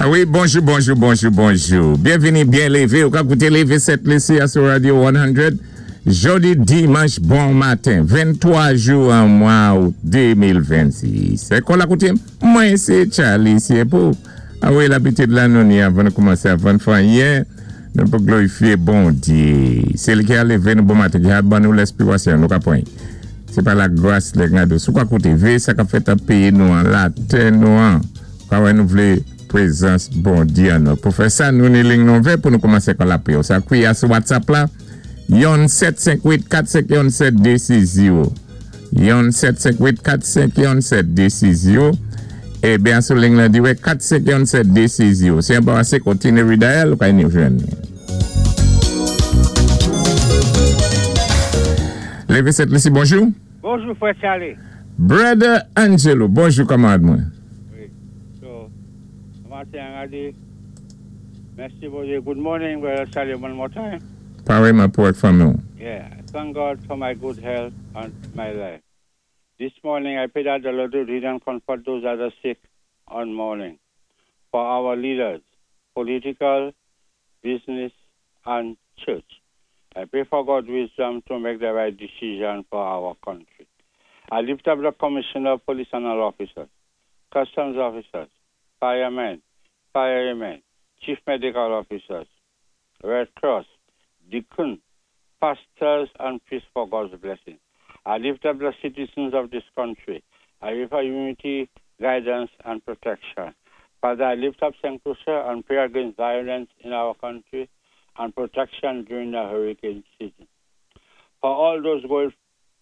Wi, bonjou, bonjou, bonjou, bonjou. Byenvini, byen lévé. Ou ka kouté Lévé Sent Lisi a sou Radio 100. Jodi dimanch bon maten, 23 jou an mwa out 2026. Kò la kouté, mwen sé Charlie Siepo. A wi, labitid la nou ni avan nou koumansé avan n fè anyen, nou pou glorifié Bondyé. Sé li ki a lévé nou bon maten, ki a ban nou lèspri wase an nou ka pran. Sé pa lagras lè gade sou ka kouté, véyé sa kap fèt an péyi nou an, latè nou an. Pa wè nou vlé prezans Bondyé an nou. Pou fè sa, nou ni ling nou vè pou nou koumansé kon lapriyè. Ou sa kriye a sou WhatsApp la, yon 7 5 8 4 5 yon 7 2 6 0. Yon 7 5 8 4 5 yon 7 2 6 0. E byen sou ling lan dirèk 4 5 yon 7 2 6 0. Si an pa ase kontinye redial, ou ka ni jwenn. Leve 7 Lisi, bonjou. Bonjou frè Charly. Brother Angelo, bonjou kamarad mwen. Wi, so, maten an gade, mèsi Bondye, good morning brother Charly one more time. Pareman pou ak fanmi w. Yeah, I thank God for my good health and my life. This morning I pray that the Lord would heal and comfort those that are sick on morning. For our leaders, political, business, and church. I pray for God's wisdom to make the right decision for our country. I lift up the Commissioner of Police and all officers, customs officers, firemen, firemen, chief medical officers, Red Cross, deacon, pastors, and priests for God's blessing. I lift up the citizens of this country. I pray for unity, guidance, and protection. Father, I lift up St. Lucia and pray against violence in our country and protection during the hurricane season. For all those going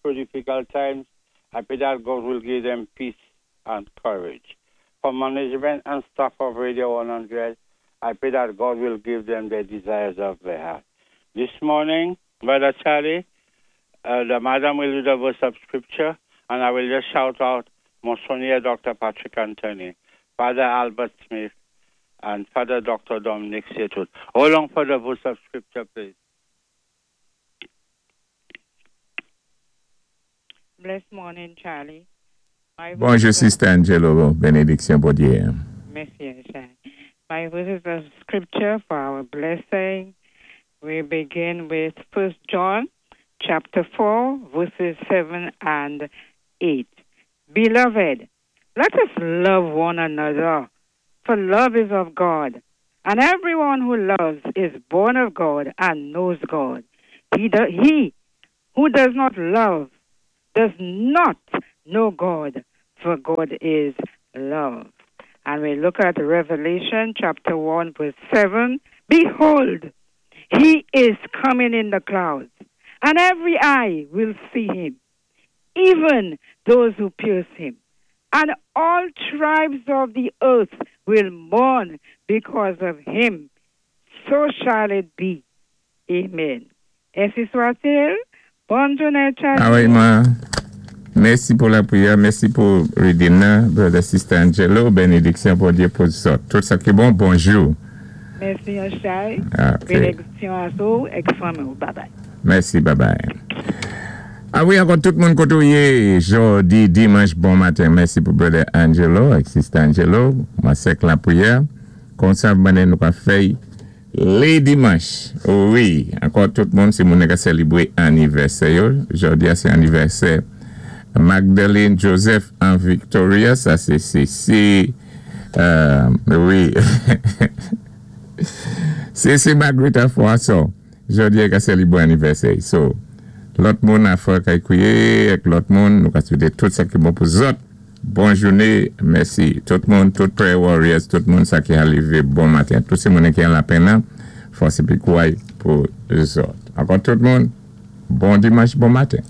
through difficult times, I pray that God will give them peace and courage. For management and staff of Radio 100, I pray that God will give them the desires of their heart. This morning, Brother Charlie, the madam will do the verse of scripture, and I will just shout out Monsignor Dr. Patrick Anthony, Father Albert Smith, and Father Dr. Dominic Setut. Hold on for the verse of scripture, please. Bless morning, Charlie. My Bonjou, Sister Angelo. Benediksyon Bondyé. Mèsi, Charlie. My verses of scripture for our blessing. We begin with First John chapter 4, verses 7 and 8. Beloved, let us love one another, for love is of God. And everyone who loves is born of God and knows God. He who does not love does not know God, for God is love. And we look at Revelation chapter 1, verse 7. Behold, he is coming in the clouds, and every eye will see him, even those who pierce him. And all tribes of the earth will mourn because of him. So shall it be. Amen. Ensi swat-il. Bòn jounen, Charlie. A wi, ma. Mèsi pou lapriyè, mèsi pou reading nan, brother sister Angelo, benediksyon Bondyé pou zòt. Tout sa ki bon, bonjou. Mèsi Charlie. Benediksyon a sou ak fanmi. Bye bye. Mèsi, bye bye. A wi, ankò tout moun koté ou yé, jodi dimanch bon maten. Mèsi pou brother Angelo ak sister Angelo. Mwen sèk lapriyè. Konsa mande nou ka fè lé dimanch. Wi, ankò tout moun si moun ka sélébwé anivèsè yo. Jodi a sé anivèsè Magdalene Joseph an Victoria. Sa sé se wi. Se Margarita Froissart. Jodi a ka sélébwé anivèsè. So, lòt moun a fò kay kwiyé ak lòt moun nou ka swété tout sa ki bon pou zòt. Bòn jouné, mèsi. Tout moun, tout prayer warriors, tout moun sa ki arivé bon maten. Tout sé moun ki an lapenn nan, fòs épi kouray pou zòt. Ankò tout moun, bon dimanch, bon maten.